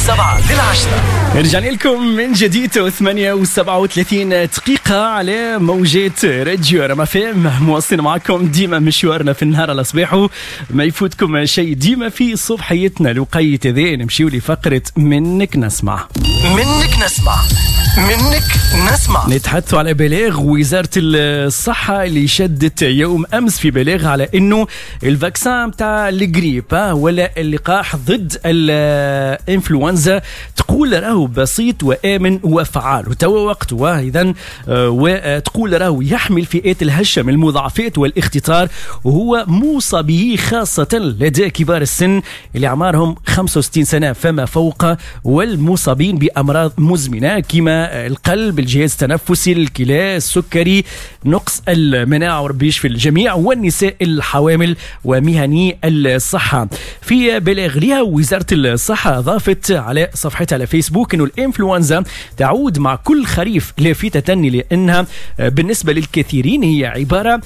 7 لل10. رجعنا لكم من جديد 8:37 على موجات راديو رما فام، مواصلين معكم ديما مشوارنا في النهار على صباحه، ما يفوتكم شيء ديما في صبحيتنا الوقيت هذا. نمشيو لفقرة منك نسمع. منك نسمع، منك نسمع. نتحدث على بلاغ وزارة الصحة اللي شدت يوم أمس في بلاغ على أنه ال vaccin تاع الجريب ولا اللقاح ضد الإنفلونزا تقول راهو بسيط وآمن وفعال وتوا وقته إذن، وتقول راهو يحمي الفئات الهشة من المضاعفات والاختطار، وهو موصى به خاصة لدى كبار السن اللي أعمارهم 65 سنة فما فوق، والمصابين بأمراض مزمنة كما القلب، الجهاز التنفسي، الكلى، السكري، نقص المناعة وربي يشفي الجميع، والنساء الحوامل ومهني الصحة. في بلاغ لها وزارة الصحة أضافت على صفحتها على فيسبوك أنه الإنفلونزا تعود مع كل خريف، لافتة لأنها بالنسبة للكثيرين هي عبارة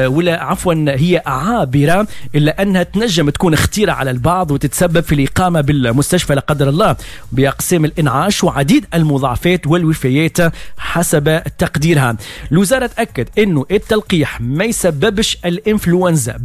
ولا عفوا هي عابرة، إلا أنها تنجم تكون خطيرة على البعض وتتسبب في الإقامة بالمستشفى لا قدر الله بأقسام الإنعاش وعديد المضاعفات والوفيات حسب تقديرها. الوزارة تأكد أنه التلقيح ما يسببش الإنفلونزا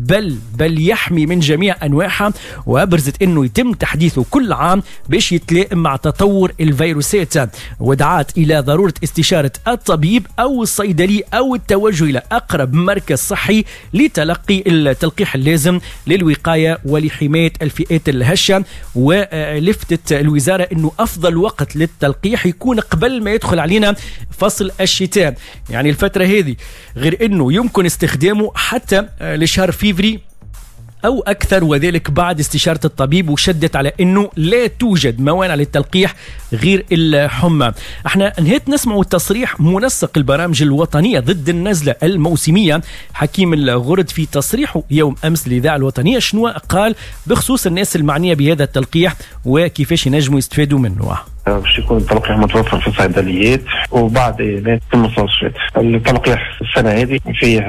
بل يحمي من جميع أنواعها، وأبرزت أنه يتم تحديثه كل عام باش يتلائم مع تطور الفيروسات، ودعات إلى ضرورة استشارة الطبيب أو الصيدلي أو التوجه إلى أقرب مركز صحي لتلقي التلقيح اللازم للوقاية ولحماية الفئات الهشة. ولفتت الوزارة أنه أفضل وقت للتلقيح يكون قبل ما يدخل علينا فصل الشتاء، يعني الفترة هذه، غير أنه يمكن استخدامه حتى لشهر فيفري أو أكثر، وذلك بعد استشارة الطبيب. وشدت على أنه لا توجد موانع للتلقيح غير الحمى. احنا نهيت نسمع تصريح منسق البرامج الوطنية ضد النزلة الموسمية حكيم الغرد في تصريحه يوم أمس للإذاعة الوطنية، شنو قال بخصوص الناس المعنية بهذا التلقيح وكيفاش ينجموا يستفادوا منه. باش يكون التلقيح متوفر في الصيدليات وبعد المستشفيات. التلقيح السنة هذه فيه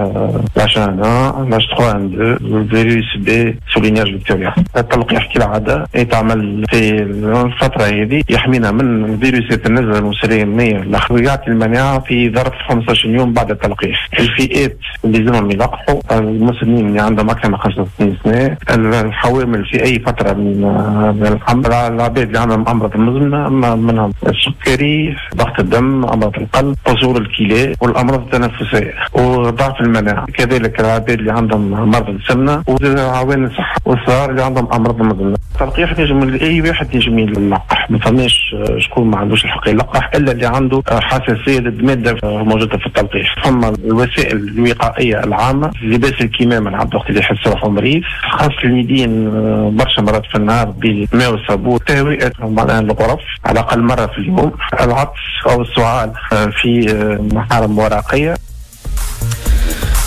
H1N1، H3N2، الفيروس B sous-lignage فيكتوريا. التلقيح كالعادة يتعمل في الفترة هذه، يحمينا من فيروسات النزله الموسمية ويعطي المناعة في ظرف 15 يوم بعد التلقيح. الفئات اللي لازمهم يلقحوا المسنين اللي عندهم اكثر من 65 سنة، الحوامل في اي فترة من الحمل، العباد اللي عندهم امراض مزمنة منهم السكري، ضغط الدم، امراض القلب، قصور الكلى والامراض التنفسية وضعف المناعة، كذلك العباد اللي عندهم مرض السمنة وعوان الصحة والصغار اللي عندهم امراض مزمنة. التلقيح ينجم اي واحد ينجم يلقح، ما فماش شكون ما عندوش الحق يلقح الا اللي عنده حساسية ضد مادة موجودة في التلقيح. ثم الوسائل الوقائية العامة، لباس الكمامة العبد وقت اللي يحس روحه مريض، غسل اليدين برشا مرات في النهار بالماء والصابون، تهوئه معناها الغرف على الأقل مرة في اليوم، العطس أو السعال في محارم ورقية.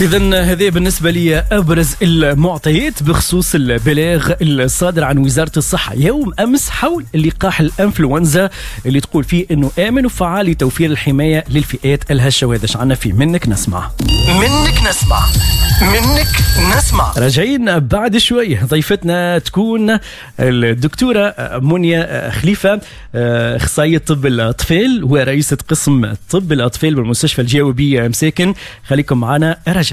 إذن هذه بالنسبة لي أبرز المعطيات بخصوص البلاغ الصادر عن وزارة الصحة يوم أمس حول لقاح الإنفلونزا اللي تقول فيه أنه آمن وفعال لتوفير الحماية للفئات الهشة. وهذا عنا فيه منك نسمع. منك نسمع، منك نسمع. راجعين بعد شوي، ضيفتنا تكون الدكتورة منيا خليفة، أخصائية طب الأطفال ورئيسة قسم طب الأطفال بالمستشفى الجهوي بمساكن. خليكم معنا، راجعين.